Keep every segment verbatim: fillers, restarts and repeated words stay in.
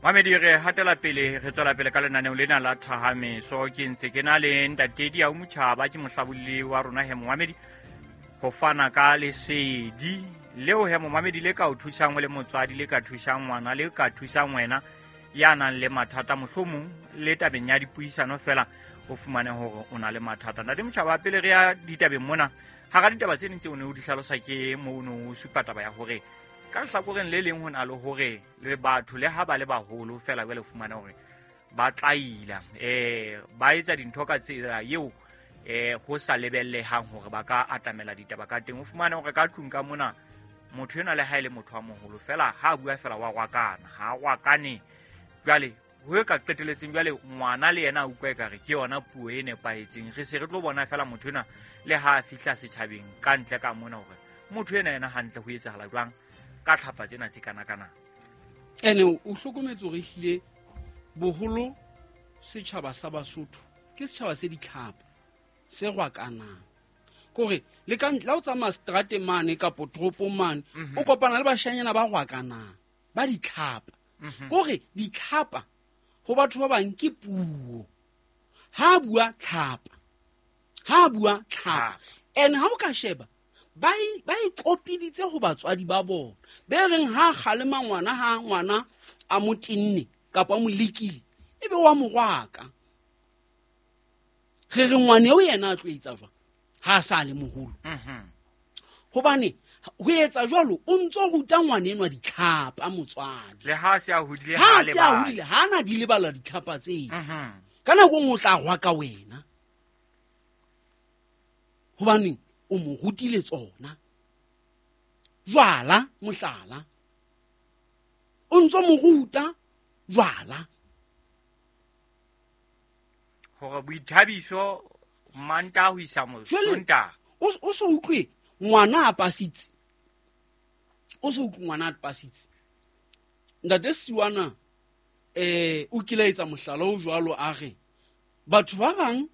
Mamedi re hatela pele re tswela pele ka lenaneo lena la Thahameso. Ke ntse ke na le ntate Diau Motjhaba, ke mohlabolli wa rona he momamedi, ho fana ka lesedi leo he momamedi le ka o thusang o le motswadi, le ka thusang ngwana, le ka thusang wena ya nang le mathata, mohlomong le tabeng ya dipuisano fela o fumane hore o na le mathata. Ntate Motjhaba, pele re ya ditabeng mona, hara ditaba tse ding tseo o ne o di hlalosa ke moo o ne o supa taba ya hore ka lehlakoreng le leng ho na le hore le batho le ha ba le baholo fela jwale fumana hore ba tlaila, eh ba etsa dintho ka tsela eo eh ho sa lebellehang hore ba ka atamela ditaba ka teng. O fumane hore ka tlung ka mona motho enwa le ha e le motho wa moholo fela ha a bua fela wa rwakana, ha a rwakane. Jwale ho e ka qeteletseng jwale ngwana le yena a utlwa ekare ke yona puo e nepahetseng. Re se re tlo bona fela motho enwa le ha a fihla setjhabeng ka ntle ka mona hore motho enwa yena hantle ho etsahala jwang ka tlhapa tsena tse kana-kana. Ene o hlokometse hore ehlile boholo setjhaba sa Basotho ke setjhaba se ditlhapa, se rwakanang. Kore le ka ntle, ha o tsamaya seterateng mane kapo toropong mane, Mhm. o kopana le bashanyana ba rwakanang, ba ditlhapa. Mhm. Kore ditlhapa ho batho ba bang ke puo. Ha bua tlhapa, ha bua tlhapa. Tlhapa. Ene ha o ka sheba, ba e, ba e kopiditse ho batswadi ba bona. Be reng ha kgalema ngwana, ha ngwana a mo tenne kapa a mo lekile, ebe wa mo rwaka. Re re ngwana eo yena a tlo etsa jwang ha a sa le moholo? Mhm. Hobane ho etsa jwalo o ntso ruta ngwana enwa ditlhapa motswadi. Le ha se a hodile, Ha ha a se a lebale. hodile, ha na di lebala ditlhapa tseo. Mhm. Ka nako e nngwe o tla rwaka wena. Hobaneng o mo rutile tsona. Jwala mohlala, o ntso mo ruta jwala. Hore boithabiso Mantaha ho isa mo- Jwale, Sontaha. o s-, o so utlwe ngwana a pasitse. O so utlwe ngwana a pasitse. Ntate Siwana, eh, o kile a etsa mohlala o jwalo a re, batho ba bang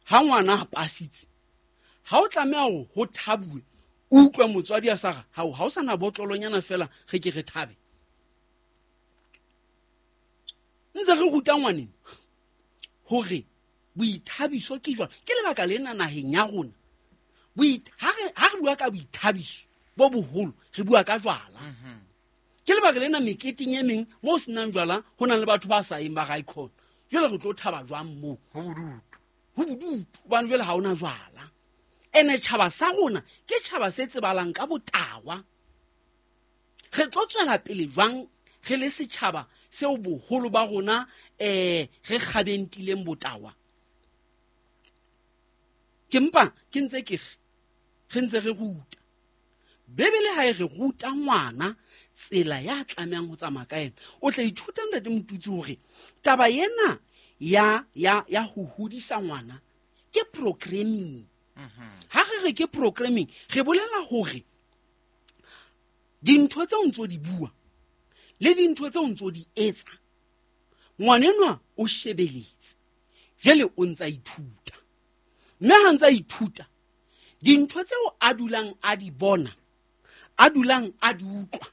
ha ngwana a pasitse, ha o tlameha hore ho thabuwe, o utlwe motswadi a sa re, hao, ha o sa na botlolonyana fela, re ke re thabe. Ntse re ruta ngwaneng hore boithabiso ke jwang. Ke lebaka lena naheng ya rona. Boit-, ha re, ha re bua ka boithabiso bo boholo, re bua ka jwala. Mhm. Ke lebaka lena meketeng e meng moo ho senang jwala, ho nang le batho ba sa yeng ba ra ikhona. Jwale re tlo thaba jwang moo? Ho bodutu. Ho bodutu, hobane jwale ha hona jwala. Ene tjhaba sa rona ke tjhaba se tsebalang ka botawa. Re tlo tswela pele jwang re le setjhaba seo boholo ba rona, eh, re kgabentileng botawa? Ke mpa ke ntse ke re, re ntse re ruta. Bebele ha e re ruta ngwana tsela ya tlamehang ho tsamaya ka yena. O tla ithuta ntate Motutsi hore taba ena ya, ya, ya ho hodisa ngwana ke programming. Mhm. Ha re re ke programming, re bolela hore dintho tseo ntso di bua le dintho tseo ntso di etsa, ngwanenwa o shebeletse, jwale o ntsa ithuta. Mme ha ntsa ithuta, dintho tseo a dulang a di bona, a dulang a di utlwa,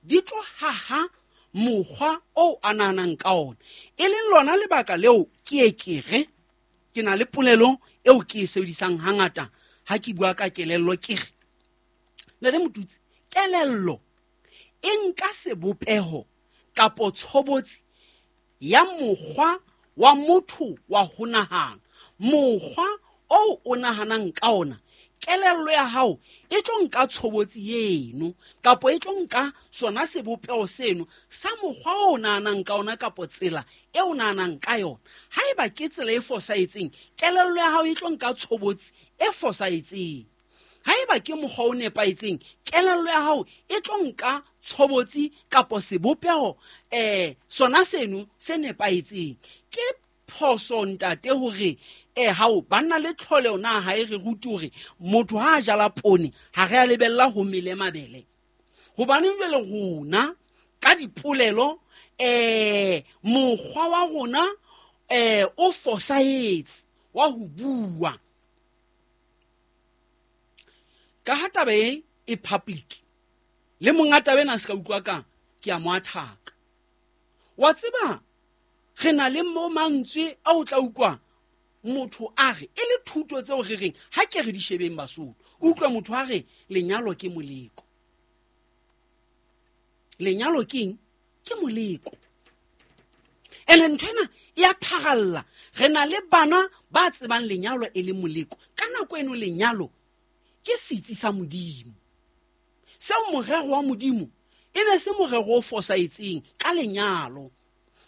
di tlo haha mokgwa oo a nahanang ka ona. E leng lona lebaka leo ke e ke re, ke na le polelo eo ke e sebedisang hangata ha ke bua ka kelello, ke re, Ntate Motutsi, kelello e nka sebopeho kapo tshobotsi ya mokgwa wa motho wa ho nahana. Mokgwa oo o nahanang ka ona, kelello ya hao e tlo nka tshobotsi eno kapo e tlo nka sona sebopeho seno sa mokgwa o nahanang ka ona kapo tsela e o nahanang ka yona. Haeba ke tsela e fosahetseng, kelello ya hao e tlo nka tshobotsi e fosahetseng. Haeba ke mokgwa o nepahetseng, kelello ya hao e tlo nka tshobotsi kapo sebopeho, eh, sona seno se nepahetseng. Ke phoso ntate hore, eh, hao banna le tlholeho na ha e re rute hore motho ha a jala poone ha re a lebella ho mele mabele. Hobaneng jwale rona ka dipolelo, eh, mokgwa wa rona, eh, o fosahetse wa ho bua. Ka ha taba e e public, le monga taba ena a se ka utlwa kang, ke a mo athaka. Wa tseba re na le mo mantswe a o tla utlwa motho a re e le thuto tseo re reng ha ke re di shebeng Basotho. Utlwa motho a re lenyalo ke moleko. Lenyalo ke eng? Ke moleko. Ene ntho ena e a pharalla. Re na le bana ba tsebang lenyalo e le moleko. Ka nako eno lenyalo ke setsi sa Modimo. Seo morero wa Modimo e ne se morero o fosahetseng ka lenyalo.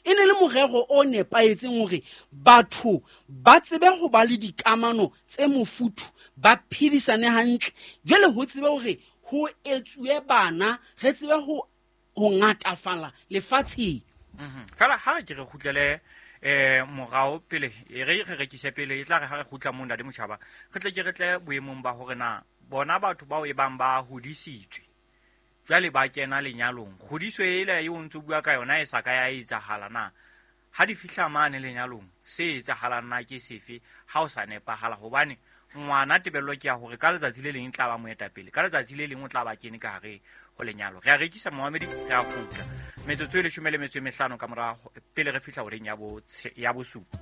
E ne le morero o nepahetseng hore batho ba tsebe ho ba le dikamano tse mofuthu, ba phedisane hantle. Jwale ho tsebe hore ho etsuwe bana, re tsebe ho ho ngatafala lefatsheng. Mhm. Fela ha re ke re kgutlele eh morao pele, e re re rekise pele, e tla re ha re kgutla mo Ntate Motjhaba, re tle ke re tle boemong ba hore na bona batho bao e bang ba hodisitswe jwale ba kena lenyalong, kgodiso ela eo o ntso bua ka yona e sa ka ya etsahala na? Ha di fihla mane lenyalong, se etsahalang na ke sefe ha o sa nepahala? Hobane ngwana tebello ke ya hore ka letsatsi le leng e tla ba moetapele, ka letsatsi le leng o tla ba kene ka hare ho lenyalo. Re a rekisa momamedi, re a kgutla metsotso e leshome le metso e mehlano ka mora pele re fihla horeng ya bo ya bosupa.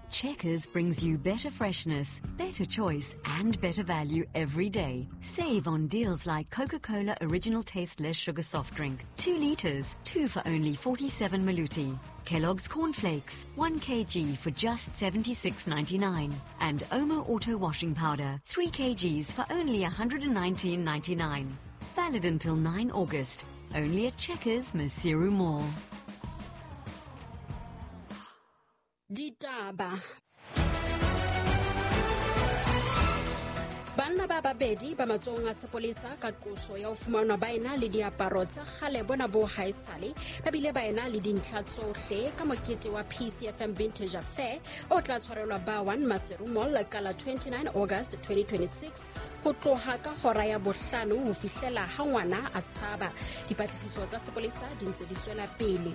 Checkers brings you better freshness, better choice, and better value every day. Save on deals like Coca-Cola Original Taste Less Sugar Soft Drink, two liters, two for only forty-seven maluti. Kellogg's Cornflakes, one kilogram for just seventy-six ninety-nine. And Omo Auto Washing Powder, three kilograms for only one hundred nineteen ninety-nine. Valid until nine August. Only at Checkers, Maseru Mall. Ditaba. Banna ba babedi ba matsohong a sepolesa ka qoso ya ho fumanwa ba ena le diaparo tsa kgale bona bo haesale, ba bile ba ena le dintlha tsohle ka mokete wa P C F M Vintage Affair o tla tshwarelwa ba one Maseru Mall ka la twenty-nine August twenty twenty-six ho tloha ka hora ya bohlano ho fihlela ha ngwana a tshaba. Dipatlisiso tsa sepolesa di ntse di tswela pele.